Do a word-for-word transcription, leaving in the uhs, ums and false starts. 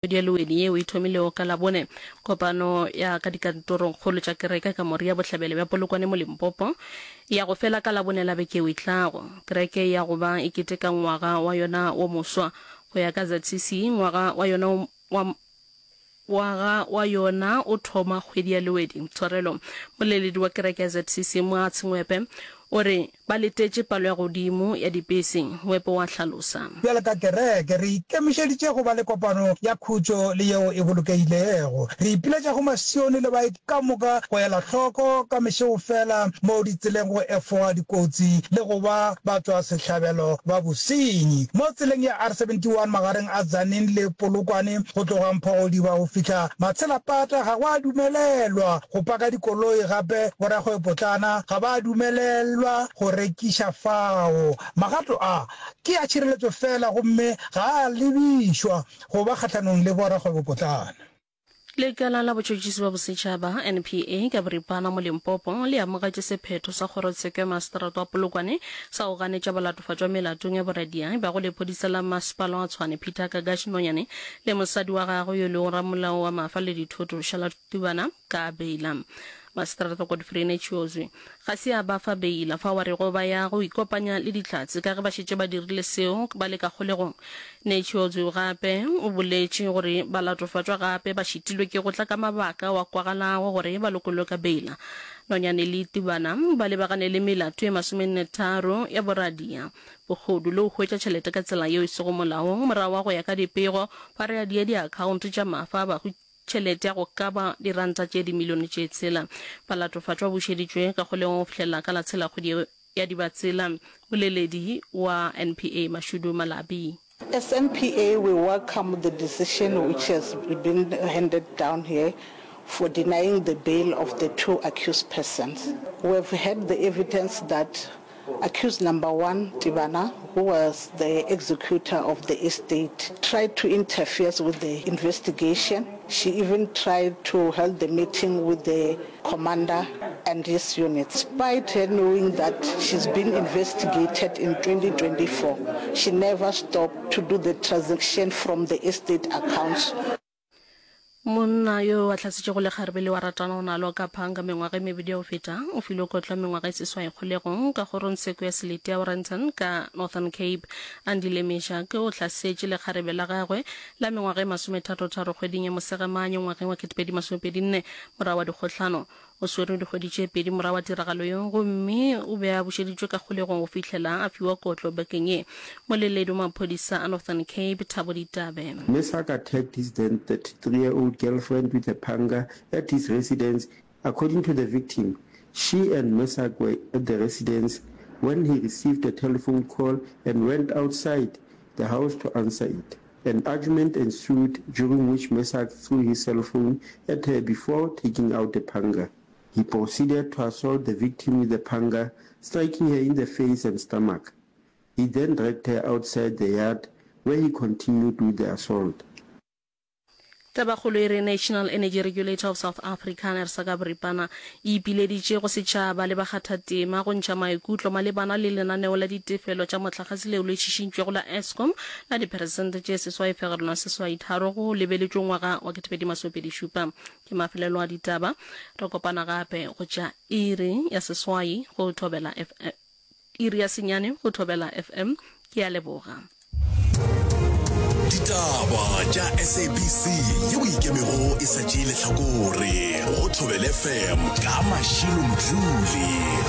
Kgwedi ya Lewedi yeo e thomilego ka Labone, kopano ya ka dikantorongkgolo tša kereke ka Moria Bohlabela bja Polokwane mo Limpopo e ya go fela ka Labone la beke yeo e tlago. Kereke e ya go ba e keteka ngwaga wa yona wo moswa. Go ya ka Z C C, ngwaga wa yona wa Ngwaga wa yona o thoma kgwedi ya Lewedi. Tshwarelo. Moleledi wa kereke ya Z C C Moatshe Ngwepe o re ba letetše palo ya godimo ya dipese. Ngwepe o a hlalosa. Bjalo ka kereke, re ikemišeditše go ba le kopano ya khutšo le yeo e bolokegilego. Re ipiletša go masione le baeti ka moka go ela hloko ka mešegofela mo ditseleng go efoga dikotsi le go ba batšwasehlabelo ba bosenyi. Mo tseleng ya R seventy one magareng a Tzaneen le Polokwane go tloga Mphogodiba go fihla Matshelapata ga go a dumelelwa go paka dikoloi gape borakgwebopotlana ga ba a dumelelwa go rekiša fao. Magato a ke a tšhireletšo fela gomme ga a lebišwa go ba kgahlanong le borakgwebopotlana. Lekala la Botšhotšhisi bja Bosetšhaba, N P A, ka boripana mo Limpopo le amogetše sephetho sa kgorotsheko ya maseterata wa Polokwane sa go ganetša balatofatšwa melatong ya boradia e bago lephodisa la masepala wa Tshwane Peter Kagash Nonyane le mosadi wa gagwe yo e lego ramolao wa mafa le dithoto Charlotte Tubana ka beila. Maseterata Godfrey Netshiozwi ga se a ba fa beila fao a rego ba ya go ikopanya le Dihlatse ka ge ba šetše ba dirile seo ba le ka kgolegong. Netshiozwi gape o boletše gore balatofatšwa gape ba šitilwe ke go tla ka mabaka ao a kwagalago gore ba lokollwe ka beila. Nonyane le Tibana ba lebagane le melato e masomennetharo ya boradia, bohodu le go hwetša tšhelete ka tsela yeo e sego molaong morago wa go ya ka dipego ba radia diakhaonto tša mafa a bahu tšhelete ya go ka ba diranta tše dimilione tše tshela. Balatofatšwa ba bušeditšwe ka kgolegong go fihlelela ka la tshela kgwedi ya Dibatsela. Moleledi wa N P A Mashudu Malabi. As N P A, we welcome the decision which has been handed down here for denying the bail of the two accused persons. We have heard the evidence that accused number one, Tibana, who was the executor of the estate, tried to interfere with the investigation. She even tried to hold the meeting with the commander and his unit. Despite her knowing that she's been investigated in twenty twenty-four, she never stopped to do the transaction from the estate accounts. Monna yo a hlasetšego lekgarebe leo a ratanago nalo ka phanga mengwaga e mebedi ya go feta o filwe kotlo ya mengwaga e seswai kgolegong ka kgorongtsheko ya selete ya Warrenton ka Northern Cape. Andile Meshack o hlasetše lekgarebe la gagwe la mengwaga e masomethatotharo kgweding ya Mosegamanye ngwageng wa ketepedi masomepedi nne morago wa dikgohlano. O swerwe dikgwedi tše pedi morago wa tiragalo yeo gomme o be a bušeditšwe ka kgolegong go fihlela a fiwa kotlo bekeng ye. Moleledi wa maphodisa a Northern Cape Thabo Ditabe. Meshack attacked his then thirty-three-year-old girlfriend with a panga at his residence. According to the victim, she and Meshack were at the residence when he received a telephone call and went outside the house to answer it. An argument ensued during which Meshack threw his cell phone at her before taking out a panga. He proceeded to assault the victim with the panga, striking her in the face and stomach. He then dragged her outside the yard where he continued with the assault. Tabakgolo e re National Energy Regulator of South Africa, NERSA ka boripana, e ipileditše go setšhaba le bakgathatema go ntšha maikutlo malebana le lenaneo la ditefelo tša mohlagase leo le šišintšwego la Eskom la diperesente tše seswai fegelwana seswai tharo go lebeletšwe ngwaga wa ketepedi masomepedi šupa. Ke mafelelo a ditaba. Re kopana gape go tša iri ya seswai go Thobela F M, iri ya senyane go Thobela F M. Ke a leboga. Ditaba tša S A B C yeo ikemego e sa tšee lehlakore go Thobela F M ka Mashilo Mdluli.